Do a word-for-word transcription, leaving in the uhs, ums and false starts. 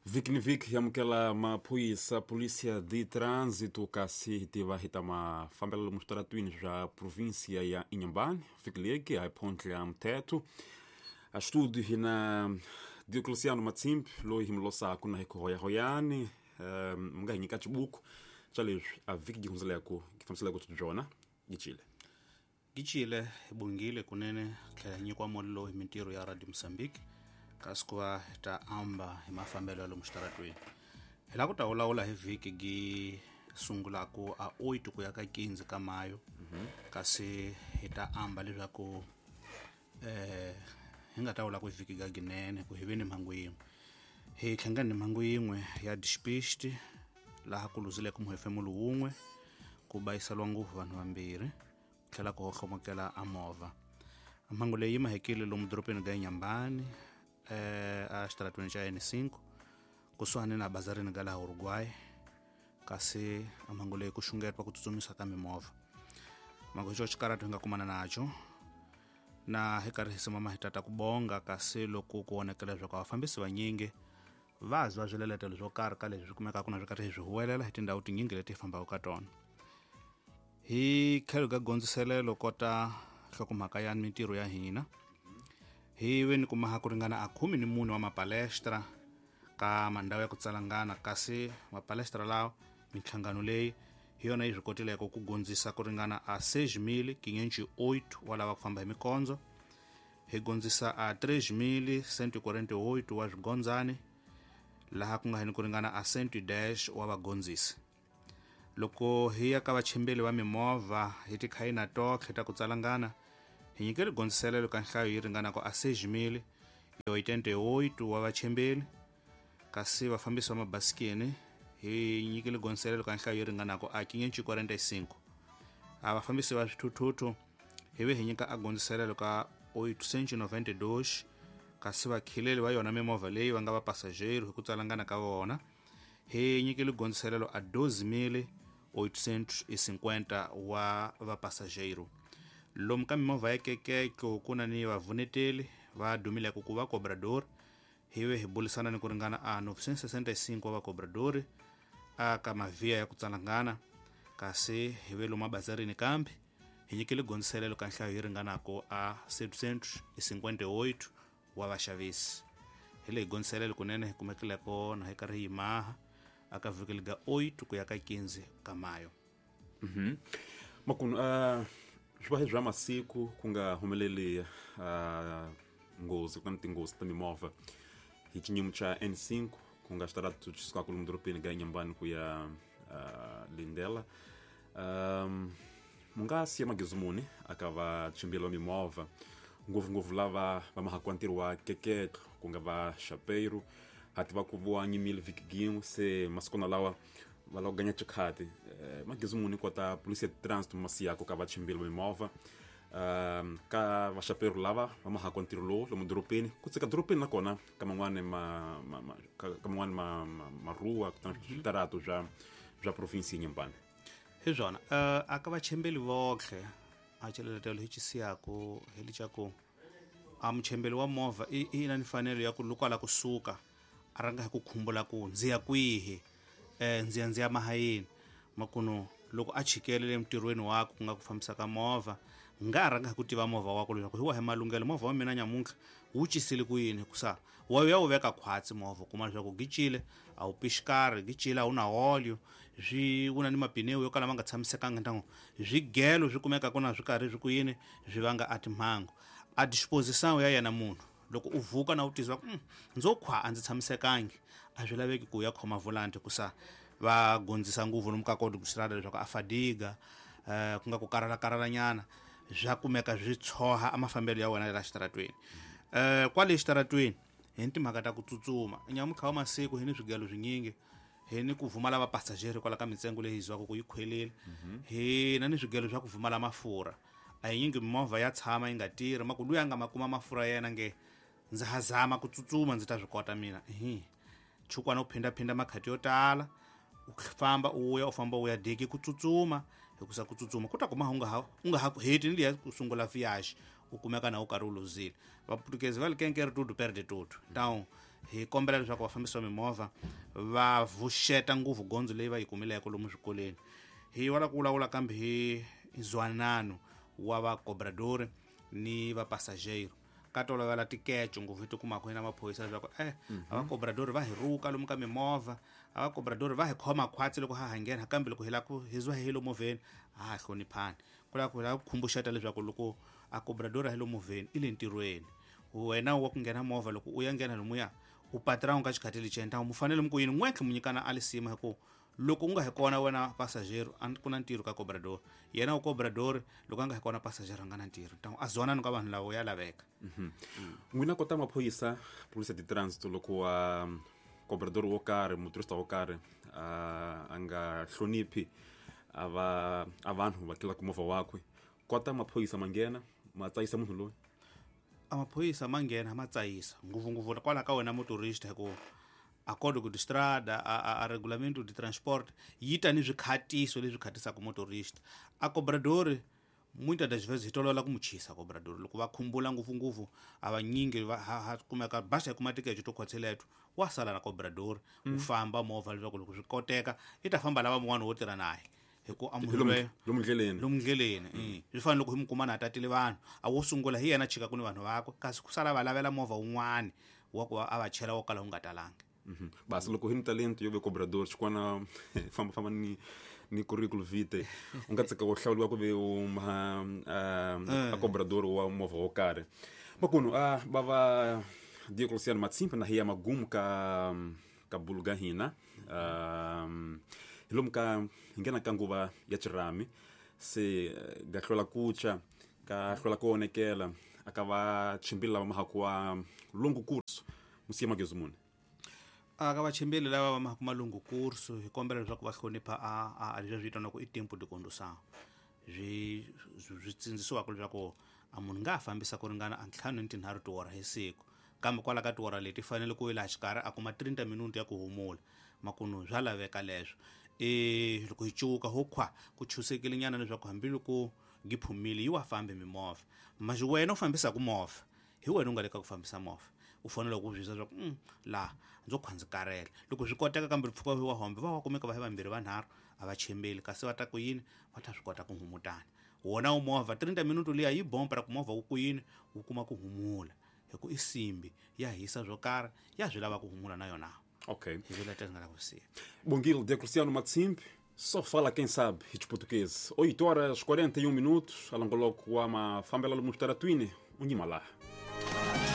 Vhiki ni vhiki amukela maphorisa Polícia de Trânsito kasi hi tiva hi ta mafambelo lomu switaratwini swa província ya Inhambane. Vhiki leki a hi phontlha mthetho a studio hi na Diocleciano Matsimbi loyi hi mi losaku na hi ku hoyahoyani um mi nga hi nyika xibuku xa leswi a vhiki gi hundzeleku gi fambiseleke byona gicile gicile bungile kunene tlhela hi nyikiwa mali lowu hi mintirho ya Radio Mozambique kasi ku va hi ta amba hi mafambelo ya lomu xitaratweni. Hi lava ku ta vulavula hi vhiki gi sungulaku a oito ku ya ka quinze ka mayo, kasi hi ta amba leswaku eh hi nga ta vula ku vhiki ga ginene ku hi ve ni mhangu yin'we. Hi hlangane ni mhangu yin'we ya despiste laha ku luzileke muhefemulo wun'we, ku bayiseliwa ngopfu vanhu vambirhi, ku tlhela ku hohlomokela a movha. Mhangu leyi yi mahekile lomu dorobeni ga Inhambane eh a xitaratweni xa N cinco kusuhani na bazarini ga laha Uruguay, kasi a mhangu leyi ku xungetiwa ku tsutsumisa ka mimovha. Mhangu hi xo xikaratu hi nga kumana naxo na hi karhi hi simama hi tata ku bonga, kasi loko ku vonakela leswaku vafambisi vanyingi va zwa swiletelo swo karhi ka leswi swi kumekaka na swi karhi hi swi huwelela hi tindhawu tinyingi leti hi fambaka ka tona. Hi tlhelo ka gondziselelo kota nhlokomhaka ya mintirho ya hina, hi ve ni kumaha ku ringana a khume ni mune wa mapalestra ka mandhawu ya ku tsalangana, kasi mapalestra lawa minhlangano leyi hi yona yi swi kotileke ku gondzisa ku ringana a seis mil quinhentos e oito wa lava ku famba hi mikondzo, hi gondzisa a três mil cento e quarenta e oito wa swigondzani, laha ku nga hini ku ringana a cento e dez wa vagondzisi. Loko hi ya ka vachimbeli va mimovha hi tikhayina totlhe ta ku tsalangana, hi nyikele gondziselelo ka nhlayo yi ringanaka a seis mil e oitenta e oito wa vachimbeli, kasi vafambisi va mabasikeni hi nyikele gondziselelo ka nhlayo yi ringanaka a quinhentos e quarenta e cinco. A vafambisi va swithuthuthu hi ve hi nyika a gondziselelo ka oitocentos e noventa e dois, kasi vakhileli va yona mimovha leyi va nga va passageiro hi ku tsalangana ka vona hi nyikele gondziselelo a doze mil oitocentos e cinquenta wa va passageiro. Lomu ka mimovha ya kekeko ku na ni vavuneteli va dumileke ku va cobrador, hi ve hi bulisana ni ku ringana a novecentos e sessenta e cinco wa va cobrador a ka mavhiya ya ku tsalangana, kasi hi ve lomu abazarini kambe hi nyikele gondziselelo ka nhlayo yi ringanaka a setecentos e cinquenta e oito wa vaxavisi. Hi leyi gondziselelo kunene hi kumekileko na hi karhi hi maha aka vhiki ga oito ku ya ka quinze ka mayo. Mhm. Makunu uh, swi va bya masiku ku nga humeleli uh, nghozi ku na tinghozi ta mimovha hi xinyimu xa N cinco ku nga xitaratu xi sukaka lomu dorobeni ga Inhambane ku ya uh, Lindela. Um, mu nga siya magezi muni aka vachimbeli va mimovha ngopfungopfu lava va mahakiwa ntirho wa keketlo ku nga va xapeiro ha tiva ku vowa nyimile vhiki gin'we se masikwana lawa va lava ku ganya xikhati eh, magezi muni kota Polícia de Trânsito ma siyako ka vachimbeli va mimovha um, ka vaxapeiro lava va mahakiwa ntirho lowu lomu dorobeni ku tsika dorobeni nakona ka man'wani ma, ma, ma, ka, ka man'wani ma, ma, maruwa kutani switarato swa swa provinsi Inhambane. Hi swona uh, aka vachembeli votlhe a xiletelo hi xi siyaku hi lexa a muchembeli wa movha i i na mfanelo ya ku loko a lava kusuka a rhanga hi ku khumbula ku ndzi ya kwihi, eh ndzi ya ndzi ya mahayeni makuno loko a chikele entirhweni wakwe ku nga ku fambisa ka movha nga rhanga hi ku tiva movha wakwe leswaku hi wahi malunghelo movha wa mina nyamuntlha wu cisile ku yini, hikusa wa ya wu veka khwatsi movha kuma leswaku gicile a wu pixikari, gicile a wu na olio, swi wu na ni mapinewu yo kala ma nga tshamisekanga ntango swigelo swi kumeka ku na swi karhi swi ku yini swi vanga a timhangu. A disposição ya yena munhu loko u vuka na u tizwa ku mm, ndzo khwa a ndzi tshamisekangi, a swi laveki ku ya khoma volanti hikusa va gondzisa ngopfu lomu ka koti ku xirada leswaku a fadiga eh, ku nga ku karhala karhalanyana swa kumeka swi tshoha a mafambelo ya wena la xitaratweni. Eh kwale xitaratweni hi ni timhaka ta ku tsutsuma nyamuntlha wa masiku hi ni swigelo swinyingi, hi ni ku vumala va passageiro kwala ka mintsengo leyi hi zwaka ku yi khwelile, hi na ni swigelo swa ku vumala mafurha. A hi nyingi mimovha ya tshama yi nga tirhi maku luya nga ma kuma mafurha yena nge ndza ha zama ku tsutsuma ndzi ta swi kota mina. Hi chukwana u phindaphinda makhati yo tala u famba u ya u famba u ya diki ku tsutsuma, hikusa ku tsutsuma ku ta kuma u nga ha u nga ha heti ni liya ku sungula viage u kumeka na u karhi u luzile. Vaputukezi va li kenkere tudo perde tudo. Então Hi kombela leswaku vafambisi va mimovha va vuxeta ngopfu gondzo leyi va yi kumileke lomu swikolweni. Hi wala ku vulavula kambe hi nzwanano wa va-cobrador ni va-passageiro ka tolovela tikeco ngopfu hi ti kumaka hi na maphorisa leswaku eh a va-cobrador va hi ruka lomu ka mimovha, a va-cobrador va hi khoma khwatsi loko ha ha nghena, kambe loko hi lava ku hi zwa hi lo movheni a ha hloniphani. Ku lava ku hi lava ku khumbuxeta leswaku loko a cobrador a hi lo movheni i le ntirhweni, wena wa ku nghena movha loko u ya nghena lomuya u patron ka xikhathi lexi ntamu mu fanele mu ku yini n'wetlhe mu nyikana a lisima hi ku loko u nga hi kona wena passageiro a ku na ntirho ka cobrador, yena u cobrador loko a nga hi kona passageiro a nga na ntirho. Ntamu a zwanani ka vanhu lavo ya laveka. N'wina kota maphorisa polisa de trânsito loko wa cobrador wo karhi motorista wo karhi a nga hloniphi a va a vanhu va tlulaka movha wakwe, kota maphorisa ma nghena ma tsayisa munhu loyi? A maphorisa ma nghena ma tsayisa ngopfungopfu kwalaho ka wena motorista, hi ku a código de estrada a, a, a regulamento de transporte yi ta ni swikhatiso leswi khatisaka motorista. A cobrador muitas das vezes hi tolovela ku mu chisa cobrador loko va khumbula ngopfungopfu a vanyingi va ha, ha kumeka basa hi kuma tikeco to khwatseleto wa sala na cobrador u famba movha leswaku loko swi koteka i ta famba lava mun'wana wo tirha naye hi ku a munhu loyi lomu ndleleni lomu ndleleni mm. Swi fana loko hi mu kuma na tatile vanhu a wo sungula hi yena chika ku ni vanhu vakwe, kasi ku sala va lavela movha wun'wani wa ku a va chela wo kala wu nga talangi. Basi loko hi ni talento yo ve cobrador xikwana famba famba ni ni curriculum vitae u nga tsaka u hlawuriwa ku ve u ma a cobrador wa movha wo karhi. Makunu a va va Diocleciano Matsimpa na hiya magumu ka ka bulu ga hina hi lomu ka hi nghena ka nguva ya xirhami se ga hlwela ku tshwa ka hlwela ku onekela a ka va chimbili lava mahaku wa longo curso musiya magezu muni. A ka vachimbeli lava va mahaku malungu curso hi kombela leswaku va hlonipha a a leswi vitaniwaka i tempo de condução, swi swi tsindzisiwaka leswaku a munhu nga ha fambisa ku ringana a ntlhanu ni tinharhu tiwora hi siku, kambe kwala ka tiwora leti fanele ku laha xikarhi a kuma thirty minuti ya ku humula. Makunu swa laveka leswo. E loko hi cuka ho khwa ku chusekile nyana leswaku hambiloko ngi phumile yi wa fambi mimovha, manje wena u fambisaka movha hi wena u nga le ka ku fambisa movha u fanele ku byisa leswaku mm, laha ndzo khwa ndzi karhele. Loko swi koteka kambe mpfhuka wa hombe va wa kumeka va hi vambirhi vanharhu a va chembeli, kasi va ta ku yini va ta swi kota ku humutana. Wona u movha thirty minuti liya yi bomba ra ku movha wu ku yini wu kuma ku humula, hi ku i simbi ya hisa swo karhi ya swi lava ku humula na yona. Ok. Hi vula tani nga la ku siya. Bongile Diocleciano Matsimbi, só fala quem sabe de português. oito horas e quarenta e um minutos, alongoloco wa mafambela lomu xitaratwini, unyima lá.